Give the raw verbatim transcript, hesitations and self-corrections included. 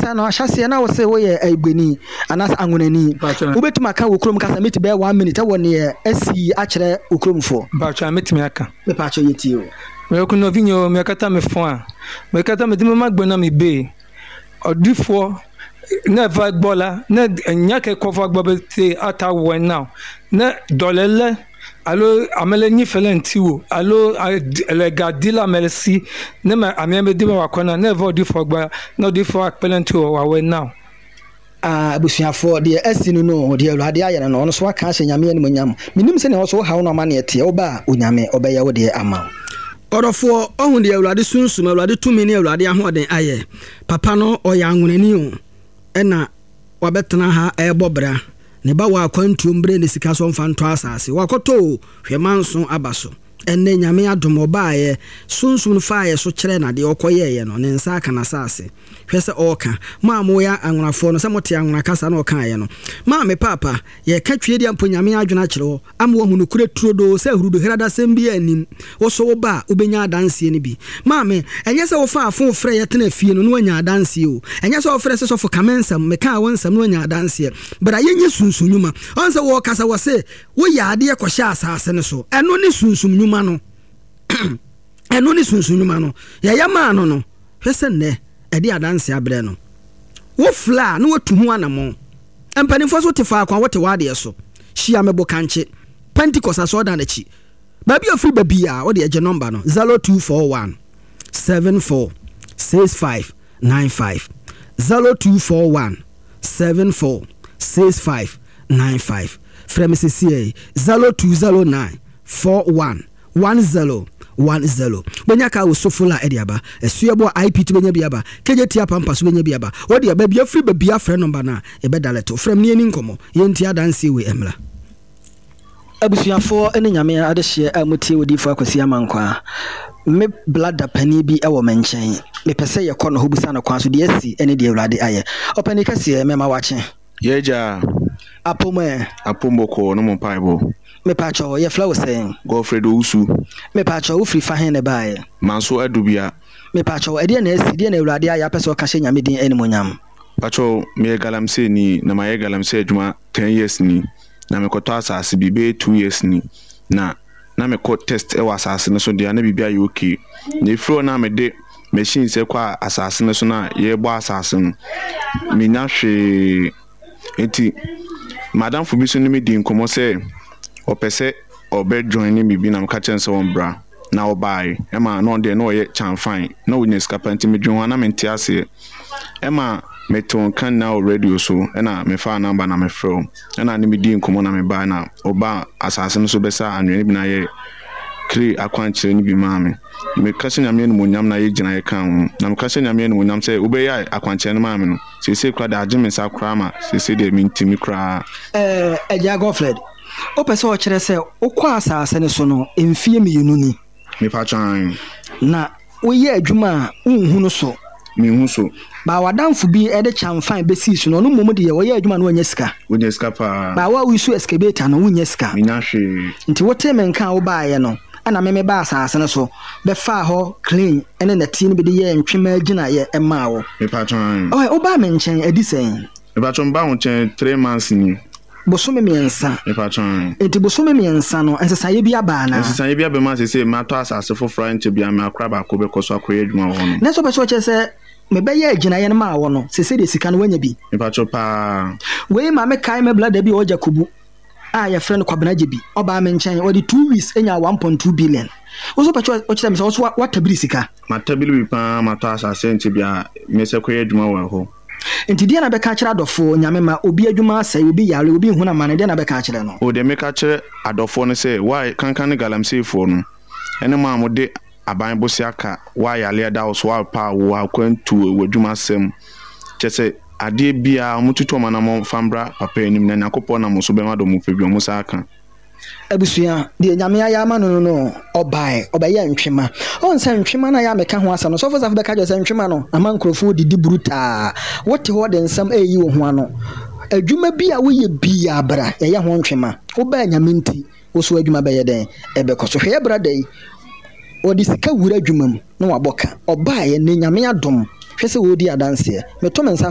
Yɛkasa no ahyɛseɛ na wo se woyɛ Ayigbeni anaasɛ Anwonani. Mpakyɛ. Wobɛtumi aka wo kurom kasa meti bɛyɛ one minute ɛwɔ neɛ asi akyerɛ wo kuromfoɔ. Mpakyɛ, mɛtumi aka. Mepakyɛ, yɛtie o. Meyɛ nɔvi o, mekata me fon a mekata mede mema gbɔ na mebe ɔdifoɔ ne va gbɔ la ne nya ke kɔ va gbɔ be te ata wɔe na ne dɔlele alo ame le nyi fe le ŋutiwò alo le ga di le ame si ne me amea be di be wòakɔ na ne va ɔdifoɔ gbɔ ne ɔdifoɔ akpe ɖe ŋutiwò wòawɔe na wo. Abusuafoɔ, deɛ asi no no deɛ Awurade ayɛ no no ɔno so aka ahyɛ Nyame animuonyam. Menim sɛnea ɔso wohaw no amanneɛ teɛ. Woba a, Onyame ɔbɛyɛ wo deɛ ama wo. Ɔdɔfoɔ, ɔhu deɛ Awurade sunsum, Awurade tumi ne Awurade ahoɔden ayɛ. Papa no ɔyɛ anwonani o, ɛna wabɛtena ha ɛrebɔ bra. Ne ba wɔ akwantuom berɛ ne sika so ɔmfa ntɔ asase. Wakɔtɔ o, hwɛ manso aba so. Ɛnnɛ Nyame adom ɔbaeɛ, sunsum no faeɛ so kyerɛ na deɛ ɔkɔyɛeɛ no, ne nsa aka n'asase. Hwɛ sɛ ɔreka. Mo a moyɛ anwonafoɔ no, sɛ mote anwona kasa na ɔkaeɛ no. Maame paapa, yɛka twie deɛ mpo Nyame adwene akyerɛ hɔ, ama wahu nokorɛ turodoo sɛ ahuruduhradasɛm bi anim. Wo so woba a, wobɛnya adanseɛ no bi. Maame, ɛnyɛ sɛ wofaa fon frɛ yɛtena fie no na woanya adanseɛ o. Ɛnyɛ sɛ wofrɛ sɛ sɔfo ka me nsɛm, mekaa wo nsɛm na woanya adanseɛ. Bra yɛnyɛ sunsum nnwuma. Ɔn sɛ wɔkasa wɔ se woyɛ adeɛ kɔhyɛ asase no so. Ɛno ne sunsum nnwuma no. Ɛno ne sunsum nnwuma no. Yɛyɛ maa no no, hwɛ sɛ nnɛ ɛde adanseɛ abrɛ no. Wo fla a na watu ho anammɔn. Mpanimfoɔ so te faako a wote w'adeɛ so. Hyia me Bokankye, Pentecost asɔredan akyi. Baabi a ofiri baabi a wode agye nɔmba no zero two four one seven four six five nine five, zero two four one seven four six five nine five. Frɛ me seesei zero two zero nine four one one zero one zero. Bɛnya kaa wɔ Sofola ɛde aba Asuabɔ a I P T, bɛnya bi aba K J T Apampa so, bɛnya bi aba. Wɔde baabi afiri baabi afrɛ nɔmba no a yɛbɛdalɛto. Frɛ me ne yɛni nkɔmmɔ, yɛnti adanseɛ wei mmra. Abusuafoɔ ne Nyame adehyeɛ a motie Odiyifoɔ Akwasi Amankwa, me blada panin bi wɔ me nkyɛn. Mepɛ sɛ yɛkɔ no hɔ busa no kwan so deɛ asi ne deɛ Awurade ayɛ. Ɔpani kɛseɛ, mɛma wakye. Yɛgya. Apom ɛ? Apom bɔkɔɔ no mo mpaebɔ. Mepakyɛw, yɛfrɛ wo sɛn? Godfred Owusu. Mepakyɛw, wofiri fa hen ne baeɛ? Manso Adubia. Mepakyɛw, ɛdeɛ na asi, deɛ na Awurade ayɛ apɛ sɛ ɔka hyɛ Nyame din animonyam? Pakyɛw, meyɛ galamsey ni na mayɛ galamsey adwuma ten years ni, na mekɔtɔ asase bi bɛyɛ two years ni, na na mekɔ test wɔ asase no so deɛ na biribi ayɛ okay, na efiri hɔ na mede machines kɔ asase no so na yɛrebɔ asase no, menya hwee. Nti madamfo bi so ne me di nkɔmmɔ sɛ ɔpɛ sɛ ɔbɛ join ne biribi, na meka kyerɛ no sɛ ɔmbra, na ɔbaeɛ ɛma na ɔno deɛ na ɔyɛ kyamfan na ɔnya sika pa, nti medwen ho a na mente aseɛ. Ɛma metoo nka nyinaa wɔ radio so, ɛna mefaa number na mefrɛ wo, ɛna ne medii nkɔmmɔ na mebaeɛ, na ɔbaa asase no so bɛsa anwea no bi na ayɛ clay akwankyerɛ no bi maa me. Meka hyɛ Nyame animuonyam na yɛgyina yɛka ho, na meka hyɛ Nyame animuonyam sɛ wobɛyɛ akwankyerɛ no maa me no, seesei koraa de agye me nsa koraa ma seesei deɛ mentimi koraa. Ɛɛ, agya Godfred, wopɛ sɛ ɔkyerɛ sɛ wokɔ asase no so no mfie mmienu ni? Mepatwan. Na woyɛ adwuma a wonhu no so? Menhu so. Baa w'adamfo bi de kyamfan bɛsii so no, ɔno mmom deɛ ɔyɛ adwuma no wanya sika. Wonya sika paa. Baa wo a woyi excavator no, wonya sika? Menya hwee. Nti wote me nka a wobaeɛ no, ɛna me mebaa asase no so bɛfaa hɔ clean ɛne nɛteɛ no bi de yɛɛ ntwema agyinaeɛ maa wo. Mepatwan. Ɔyɛ wobaa me nkyɛn adi sɛn? Mepatwan, mebaa wo nkyɛn three months ni. Bosome mmiɛnsa. Mepatwan. Nti bosome mmiɛnsa no, nsesaeɛ bi aba anaa? Nsesaeɛ bi aba mu a seesei matɔ asase foforɔ a nkyɛ bia me akora baako bɛkɔ so akɔyɛ adwuma wɔ hɔ no. Na sɛ wopɛ sɛ ɔkyerɛ sɛ mebɛyɛ agyinaeɛ no maa wɔ no, sese deɛ sika no woanya bi? Mepatwɔ, paa. Wei ma mekae me blada bi a ɔgya kubu a yɛfrɛ no Kwabena Gye bi. Ɔbaa me nkyɛn, ɔde two weeks anya one point two billion. Wo so pɛ sɛ ɔkyerɛ me sɛ wo so watabiri sika? Matabiri bi paa, matɔ asase nkyɛ bia mesɛ kɔyɛ adwuma wɔ hɔ. Nti deɛ na bɛka kyerɛ adɔfoɔ Nyame ma obi adwuma asɛe, obi yare, obi nhunu amane, deɛ na bɛka kyerɛ no? O, deɛ meka kyerɛ adɔfoɔ no sɛ wa kankan ne galamseyfoɔ no ɛne mo a mode aban bosea ka wa yale da wo so, wa pa wo akwantuo wɔ adwuma asɛm kyɛ sɛ adeɛ biara ɔmo tutu ɔmo anamɔ fa mbra papa anim, na Nyankopɔn nam so bɛma dɔ mo pɛ bi ɔmo sa aka. Abusua, deɛ Nyame ayɛ ama no no no ɔbae ɔbɛyɛ ntwema. Ɔn sɛ ntwema no a yɛ a meka ho asɛm no, sɔfo safo bɛka kyerɛ sɛ ntwema no ama nkurɔfoɔ didi brutaa. Wote hɔ de nsɛm ɛyi wo ho ano. Adwuma bi a woyɛ biaa, bra yɛyɛ ho ntwema. Wobaa Nyame nti, wo so adwuma bɛyɛ dɛn? Ɛbɛkɔ so. Hwɛ yɛ brada yi, wɔde sika wura adwuma mu na wabɔ ka. Ɔbaeɛ ne Nyame adom, hwɛ sɛ wɔredi adanseɛ. Meto me nsa.